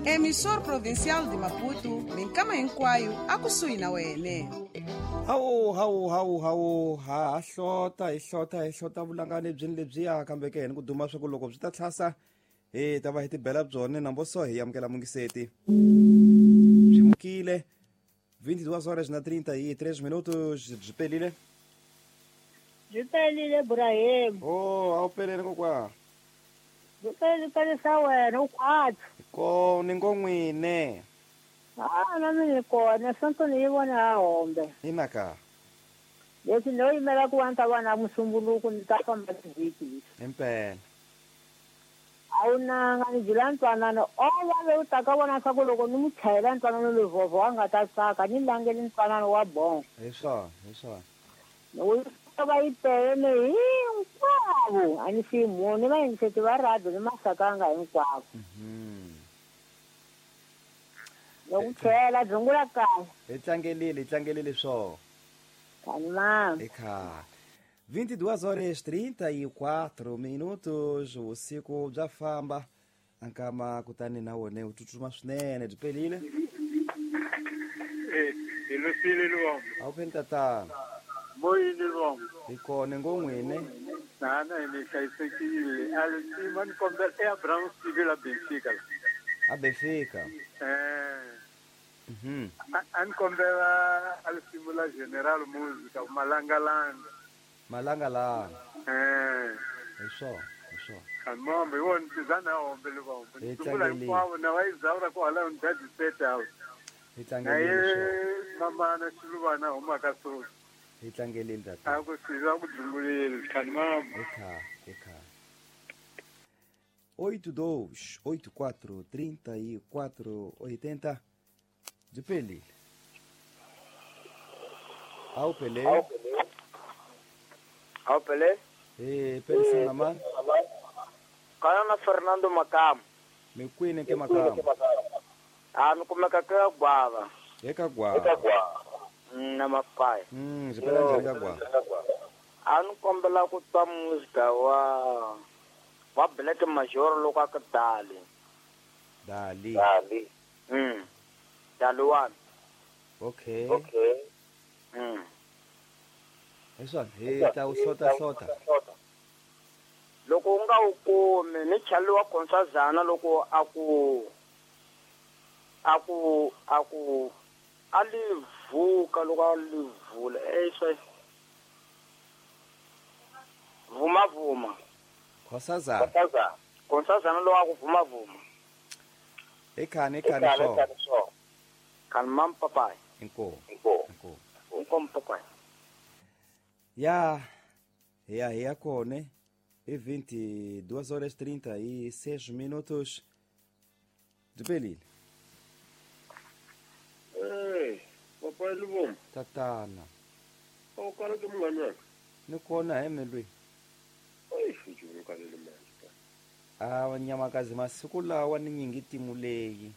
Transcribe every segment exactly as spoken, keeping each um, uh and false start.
Emissor Provincial de Maputo, minkama hinkwayo akusuhi na wene. Hawu hawu hawu hawu ha hlota hi hlota hi hlota vulangani byini lebyiya kambe ke ni ku duma swa ku loko byi ta tlhasa hi ta va hi tibela byone nambo so hi amukela mungiseti byi mukile vinte e duas horas na trinta e três minutos byi pelile byi pelile Ibrahim. Oh, a wu pelele kokwa byi pelile pelisa wena u khwatsi ko ni ngo n'wine. Ah, na mina kona sonto ni yi vona ha hombe inaka leswi no yimela ku va ni ta va na musumbuluku ni ta famba tivhiki impela a wu nanga ni byela ntwanano o va lowu taka vona swa ku loko ni mu chayela ntwanano lovovho a nga ta tsaka ni langeli ntwanano wa bongo hi swona hi swona wu va yi tele hinkwavo a ni siyi munhu ni vayingiseti va radio ni masakanga hinkwavo. Loko chela dzungula kahle hi tlangelile hi tlangelile swo kani mama eka vinte e duas horas trinta e quatro minutos vusiku bya famba ankama kutani na wona wu tsutsuma swinene byi pelile. Eh, hi lusile luwombo a wu pheli tatana moyini luwombo hi kona ngo n'wine nana hi mi hlayisekile a lutima ni kombela eAbraham Sivila Benfica la a Benfica eh mhm a ni kombela a lusimula General Musica Malangalanga Malangalanga eh hi swona hi swona kanmombe wona tizana hombe luvombo Hi sungula tlangelile. hinkwavo na va izawura ku hala ni dadiseta hi na tlangelile ye swona mamana xiluvana humaka so hi tlangelile tatana a ku siva ku dzungulile kanmombe eka eka oito dois oito quatro trinta e quatro oitenta byi pelile a wu pelele Awu pele hi pelisana mani kana na Fernando Makamu mi kwini ke Makamu a ni kumeka ka Gwava eka Gwava na Mapaya. Mm, byi pela njhani ka Gwava A ni kombela ku twa muzika wa wa Black Major loko a ku dali dali dali mm dali wani okay mm hi swona hi ta wu hlota hlota loko u nga wu kumi ni chaliwa Konsazana loko a ku a ku a ku a li vuka loko a li vula eh swi vuma vuma Konsazana Konsazana loko a ku vuma vuma ekhani ekhani swo kan mam papai inkomu inkomu inkomu papai ya ya ya kone e vinte e duas horas trinta e seis minutos byi pelile. Eh, papai luvombo tatana a wu kala ke munghani wena ni kona he melwi oyi futhi u kalele manje a nyamakazi masiku lawa ni nyingi timu leyi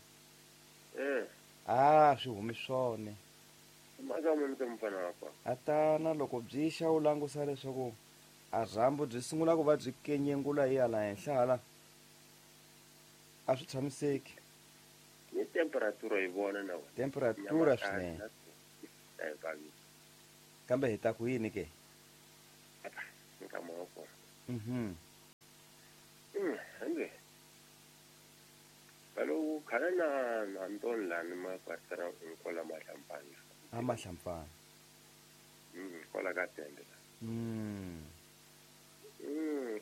eh a swi humi swona maka mi ta mfana wa kwa atana loko byi xa u langusa leswaku a rhambu byi sungula ku va byi kenyengula hi hala henhla hala a swi tshamiseki ni temperatura yi vona na wena temperatura swinene kambe hi ta ku yini ke nkama wa kona mhm mm hambe kaloku khale na na Antoni lani makwasara nkola mahlampana a mahlampana mm kola ka tende la mm mm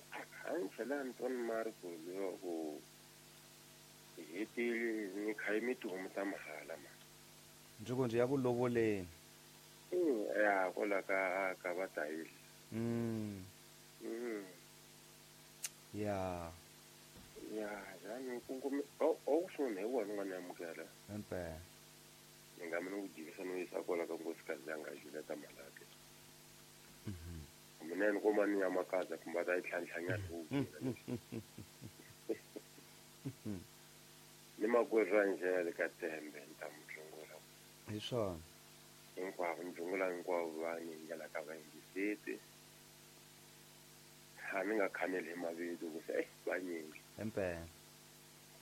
a ni tlhela Antoni Marco leyo ku hetile ni khayimi tihomu ta mahala ma ndzi ku ndzi ya ku lovoleni mm ya kola ka ka va tayile mm mm ya ya yani ku ku o o swona hi wona n'wana amukela impela ni nga mina ku jikisa no yisa kwala ka nkosikazi ya nga Julieta Malake mhm mina ni kuma ni ya makaza kumbe ta yi tlhantlhanyana ku ni makwerhu Angele ka Tembe ni ta mu dzungula hi swona hinkwavo ni dzungula hinkwavo va ni ndlela ka vayingiseti a ni nga khaneli hi mavito ku se eh vanyingi impela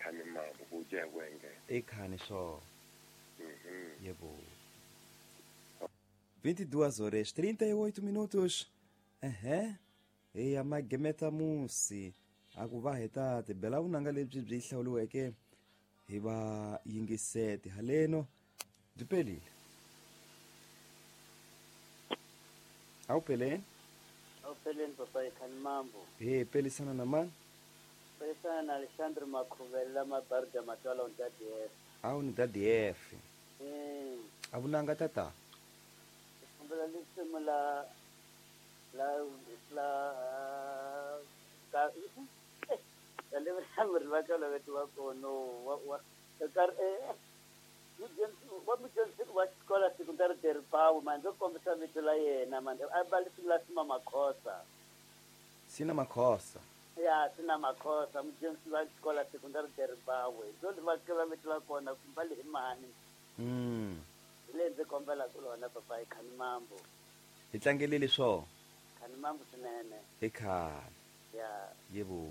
Khani mambo ku dya hi ku engeta. I khani swo. Mhm. Yebo. vinte e duas horas trinta e oito minutos. Ehe. Eya magemeta musi a ku va heta tibela vunanga lebyi byi hlawuriweke hi va yingiseti haleno byi pelile. A wu peleni? Awupheleni papa Khani mambo. He pelisana na mani? Pelisana na Alexandre Makhuvela Mabaruda Matwala on D F. A wu ni da D F. Mm. A vunanga tata. Kombela lisimu la la la ka ya le va ka la wa kono wa wa ka eh wa mudyondzisi wa xikolo secondary Deripawu mani ndzo kombisa vito la yena mani a ba lisimu la Sima Makhosa. Sina Makhosa. Ya, Sina Makhosa, mudyondzisi wa xikolo secondary Deripawu, ndzo va tiva vito la kona kumba le hi mani. Mm. Hi le ndzi kombelaka lona papa hi Khani mambo. Hi tlangelile swo. Khani mambo swinene. I khale. Ya. Yebo.